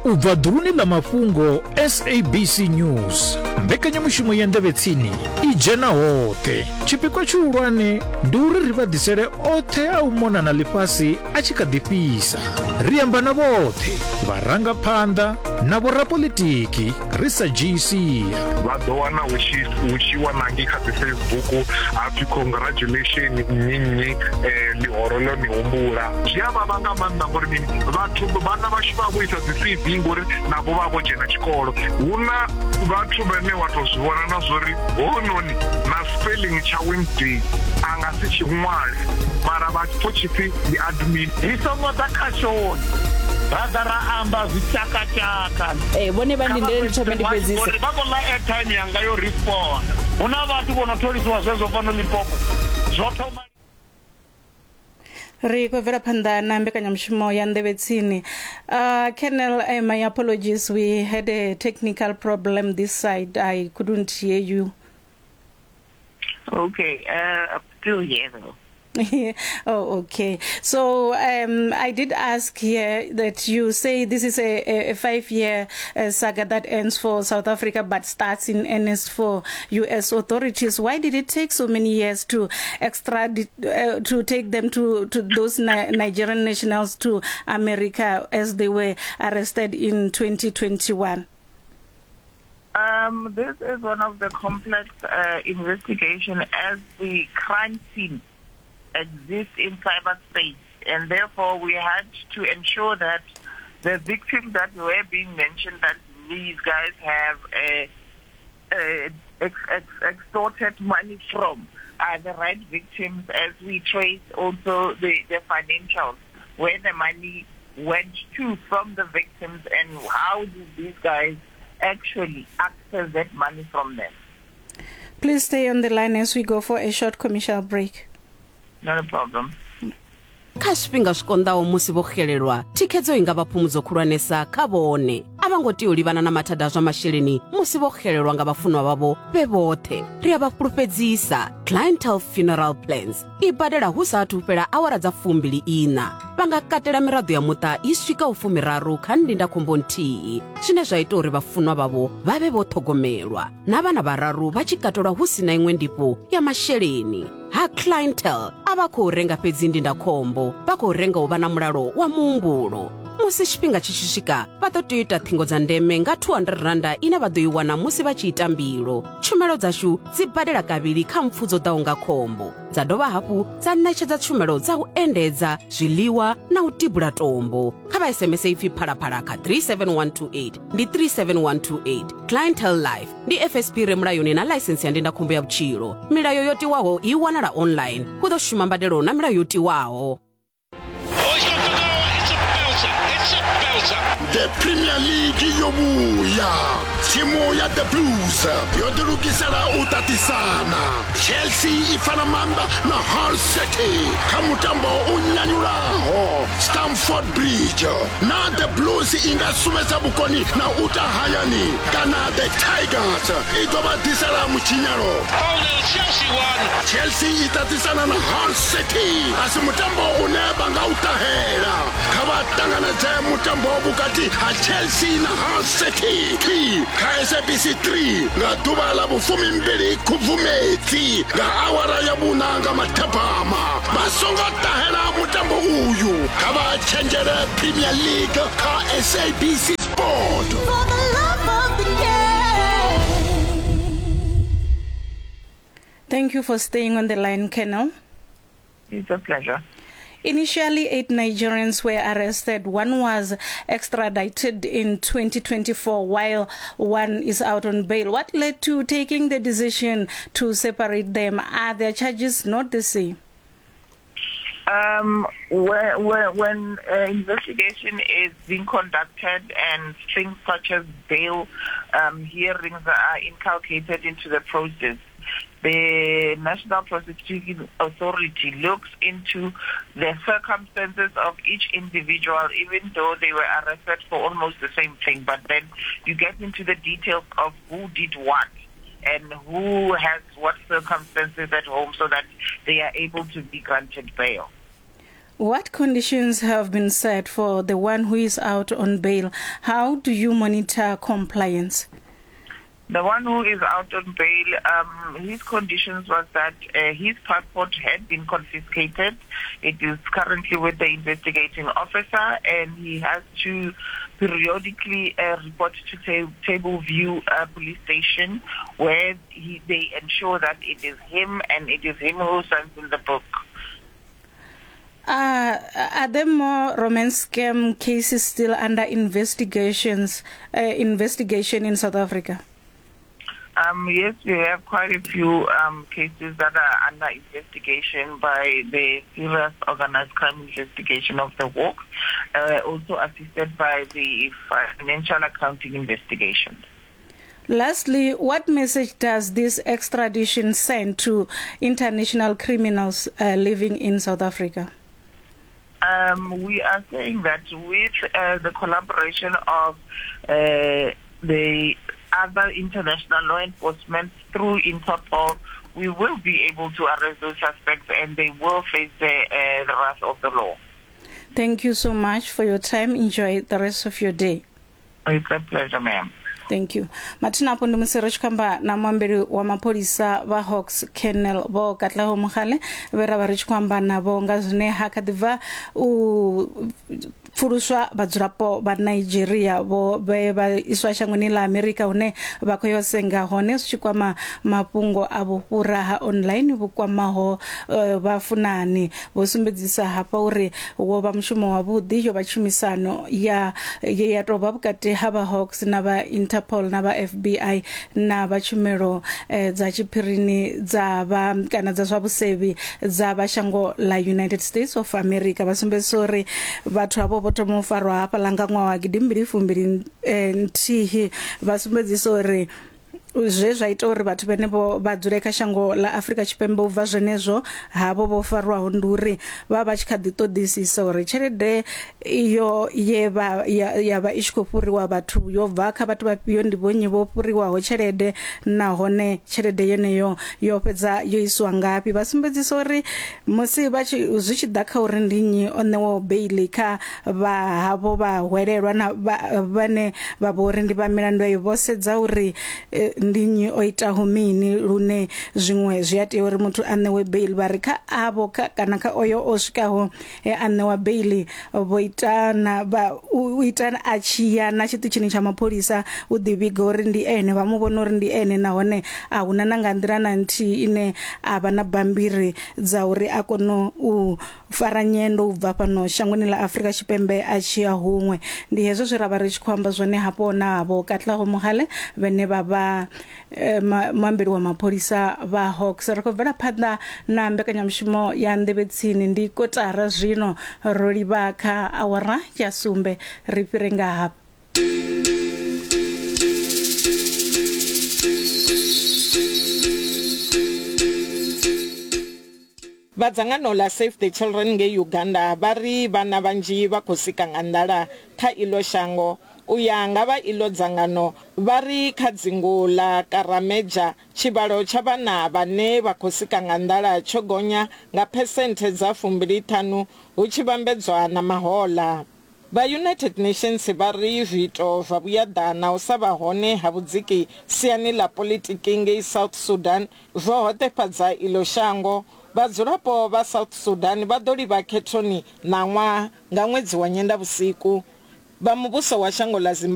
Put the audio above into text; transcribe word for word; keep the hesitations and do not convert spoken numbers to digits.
U bva ḓuluni ḽa mafhungo S A B C News, mbekanyamushumo ya nḓevhe tsini i dzhena hoṱhe. Tshipikwa tshihulwane ndi uri ri vha ḓisele oṱhe a u mona na ḽifhasi a tshi kha ḓi fhisa. Ri amba na vhoṱhe, vharangaphanḓa na vhorapolitiki ri sa dzhii sia. Vha ḓo wana hu tshi hu tshi wana ngei kha dzi Facebook ha pfi congratulation nnyi nnyi ḽihoro ḽo ni humbula. Zwi a vhavha nga maanḓa ngori mini vhathu vhana vhashu vha vho ita dzi C V ngori navho vha vho dzhena tshikolo. Hu na vhathu vhane wa tou zwi vhona na zwori hounoni na spelling tsha Wednesday a nga si tshi ṅwale mara vha pfo tshipfi ndi admin. Ri songo ḓa khashoni ra ḓa ra amba zwitshakatshaka. Eh vhone vha ndindele ndi thome ndi fhedzise. Vha khou ḽa airtime yanga yo respond. Hu na vhathu vho no tholisiwa zwezwo fhano Limpopo zwo thoma. Ri khou bvela phanḓa na mbekanyamushumo ya nḓevhe tsini. Uh, Colonel, uh, my apologies. We had a technical problem this side. I couldn't hear you. Okay, uh, I'm still here though. Oh, okay. So um, I did ask here that you say this is a, a five-year uh, saga that ends for South Africa but starts in earnest for U S authorities. Why did it take so many years to extradite, uh, to take them to, to those Ni- Nigerian nationals to America as they were arrested in twenty twenty-one? Um, this is one of the complex uh, investigation as the crime scene exists in cyberspace, and therefore we had to ensure that the victims that were being mentioned, that these guys have uh, uh, ex- ex- extorted money from, are the right victims, as we trace also the, the financials, where the money went to from the victims and how did these guys actually access that money from them. Please stay on the line as we go for a short commercial break. Not a problem. Kha zwifhinga zwi konḓaho musi vho xelelwa, thikhedzo i nga vha phumudzo khulwanesa kha vhone. A vha ngo tea u livhana na mathada a zwa masheleni musi vho xelelwa nga vhafunwa vhavho vhe vhoṱhe. Ri a vha fhulufhedzisa, Clientele Funeral Plans i badela hu sa athu fhela awara dza fumbili ina. Vha nga katela miraḓo ya muṱa i swikaho fumiraru kha ndindakhombo nthihi, zwine zwa ita uri vhafunwa vhavho vha vhe vho ṱhogomelwa, na vhana vhararu vha tshi katelwa hu si na iṅwe ndifho ya masheleni. Ha Clientele a vha khou renga fhedzi ndindakhombo, vha khou renga u vha na mulalo wa muhumbulo. Musi tshifhinga tshi tshi swika, vha ḓo tea u ita ṱhingo dza ndeme nga two hundred randa ine vha ḓo i wana musi vha tshi ita mbilo. Tshumelo dzashu dzi badela kavhili kha mpfu dzo ḓaho nga khombo, dza dovha hafhu dza ṋetshedza tshumelo dza u endedza, zwiḽiwa na u tibula tombo. Kha vha S M S ipfi phalaphala kha three seven one two eight, ndi three seven one two eight. Clientele Life ndi F S P re mulayoni na ḽaisensi ya ndindakhombo ya vhutshilo. Milayo yo tiwaho i wanala online. Hu ḓo shuma mbadelo na milayo yo tiwaho. The Premier League yo vhuya. Thimu ya The Blues yo ḓilugisela u ṱaṱisana. Chelsea i fana maanḓa na Hull City kha mutambo u nyanyulaho Stamford Bridge. Na The Blues i nga sumbedza vhukoni na u ta hayani, kana The Tigers i ḓo vha ḓisela mutshinyalo. Chelsea i ṱaṱisana na Hull City, a si mutambo une vha nga u ṱahela. Kha vha ṱanganedze mutambo vhukati ha Chelsea na Hull City kha S A B C three nga ḓuvha ḽa vhufumimbili Khubvumedzi nga awara ya vhuna nga mathabama. Vha songo ṱahela mutambo uyu, kha vha tshenzhele Premier League kha S A B C Sport. For the love of the game. Thank you for staying on the line, Colonel. It's a pleasure. Initially, eight Nigerians were arrested. One was extradited in twenty twenty-four, while one is out on bail. What led to taking the decision to separate them? Are their charges not the same? Um, when when, when uh, investigation is being conducted and things such as bail um, hearings are inculcated into the process, the National Prosecuting Authority looks into the circumstances of each individual, even though they were arrested for almost the same thing. But then you get into the details of who did what and who has what circumstances at home, so that they are able to be granted bail. What conditions have been set for the one who is out on bail? How do you monitor compliance? The one who is out on bail, um, his conditions was that uh, his passport had been confiscated. It is currently with the investigating officer, and he has to periodically uh, report to ta- Table View uh, Police Station, where he, they ensure that it is him and it is him who signs in the book. Uh, are there more romance scam cases still under investigations, uh, investigation in South Africa? Um, yes, we have quite a few um, cases that are under investigation by the Serious Organized Crime Investigation of the Hawks, uh, also assisted by the Financial Accounting Investigation. Lastly, what message does this extradition send to international criminals uh, living in South Africa? Um, we are saying that with uh, the collaboration of uh, the other international law enforcement through Interpol, we will be able to arrest those suspects and they will face the, uh, the wrath of the law. Thank you so much for your time. Enjoy the rest of your day. It's a pleasure, ma'am. Thank you. Mathina afho ndi musi ri tshi khou amba na muambeli wa mapholisa vha Hawks Colonel Vho Katlego Mogale vhe ra vha ri tshi khou amba navho nga zwine ha kha ḓi bva u pfuluswa vhadzulapo vha Nigeria vho vhe vha iswa shangoni ḽa Amerika hune vha khou yo senga hone zwi tshi kwama mafhungo a vhufhura ha online vhu kwamaho uh, vhafunani. Vho sumbedzisa hafha uri wo vha mushumo wavhuḓi yo vha tshumisano ya ye ya tou vha vhukati ha vha Hawks na vha Interpol na vha F B I na vha tshumelo eh, dza tshiphirini dza vha kana dza zwa vhusevhi dza vha shango ḽa United States of America. Vha sumbedzisa uri vhathu avho vho thoma u farwa hafhaḽa nga ṅwaha wa gidimbili fumbili nthihi. Vha sumbedzisa uri zwe zwa ita uri vhathu vhenevho vha dzule kha shango ḽa Afrika Tshipembe u bva zwenezwo havho vho farwaho ndi uri vha vha tshi kha ḓi ṱoḓisisa uri tshelede iyo ye vha ya, ya vha i tshi khou fhuriwa vhathu yo bva kha vhathu vhafhio, ndi vhonnyi vho fhuriwaho tshelede nahone tshelede yeneyo yo fhedza yo iswa ngafhi. Vha sumbedzisa uri musi vha tshi zwi tshi ḓa kha uri ndi nnyi o ṋewaho beili kha vha havho vha hwelelwa na vhane vha vho uri ndi vha milandu eyo, vho sedza uri eh, ndi nnyi o itaho mini lune zwiṅwe zwi a tea uri muthu a ṋewe beili. Vha ri kha avho kana kha oyo o swikaho a ṋewa beili vho ita na vha u ita a tshi ya na tshiṱitshini tsha mapholisa u ḓi vhiga uri ndi ene, vha mu vhona uri ndi ene nahone a huna na nga nḓila na nthihi ine a vha na bambiri dza uri a kone u fara nyendo u bva fhano shangoni ḽa Afrika Tshipembe a tshi ya huṅwe. Ndi hezwo zwe ra vha ri tshi khou amba zwone hafho navho Katlego Mogale vhene vha vha muambeli wa mapholisa vha Hawks. Ri khou bvela phanḓa na mbekanyamushumo ya Nḓevhe Tsini, ndi kotara zwino ro livha kha awara ya sumbe, ri fhire nga hafha. Vha dzangano ḽa Save the Children ngei Uganda vha ri vhana vhanzhi vha khou sika nga nḓala kha iḽo shango. U ya nga vha iḽo dzangano vha ri kha dzingu ḽa Karameja tshivhalo tsha vhana vhane vha khou sika nga nḓala tsho gonya nga phesenthe dza fumbili ṱhanu hu tshi vhambedzwa na mahoḽa. Vha United Nations vha ri zwiito zwa vhuyaḓa na u sa vha hone ha vhudziki siani ḽa politiki ngei South Sudan zwo hoṱefhadza iḽo shango. Vhadzulapo vha South Sudan vha ḓo livha khethoni ṋaṅwaha nga ṅwedzi wa Nyendavhusiku. Vha muvhuso wa shango ḽa Zimbabwe